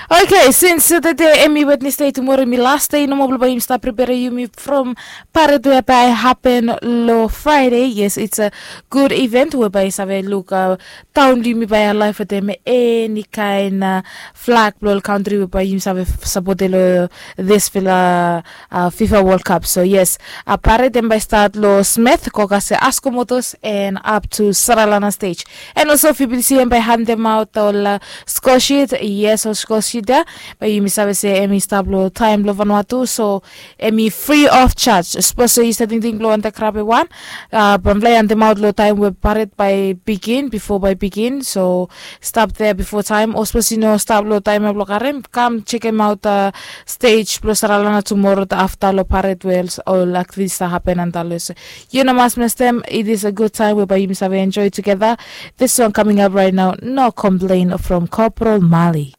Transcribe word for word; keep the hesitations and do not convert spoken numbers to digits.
Okay, since tede em i Wednesday, tomorrow em i last day nomo blong bai yumi stap prepare yumi from parade we bai happen lo Friday. Yes, it's a good event we bai save look uh, town blong yumi bai alive with them any kind uh, flag blong country we bai yumi save support lo this fila uh, FIFA World Cup. So yes, a parade em bai start lo Smith, Kokase, Askomotos and up to Saralana stage. And also if you see em bai hand them out all uh, score sheet, yes, or score sheet there. Bai yumi save se em i stap lo time lo Vanuatu, so em i free of charge. Suppose se you starting thing lo anta krabe one. Uh, bamfly hand them out lo time we parade by begin, before by begin. So stop there before time. Or suppose you know stop lo time lo karem. Come check him out uh, stage plus Saralana tomorrow the after lo parade wells or like this that happen and all this. You know, must miss them. It is a good time whereby you must have enjoy together. This song coming up right now, No Complain from Corporal Mali.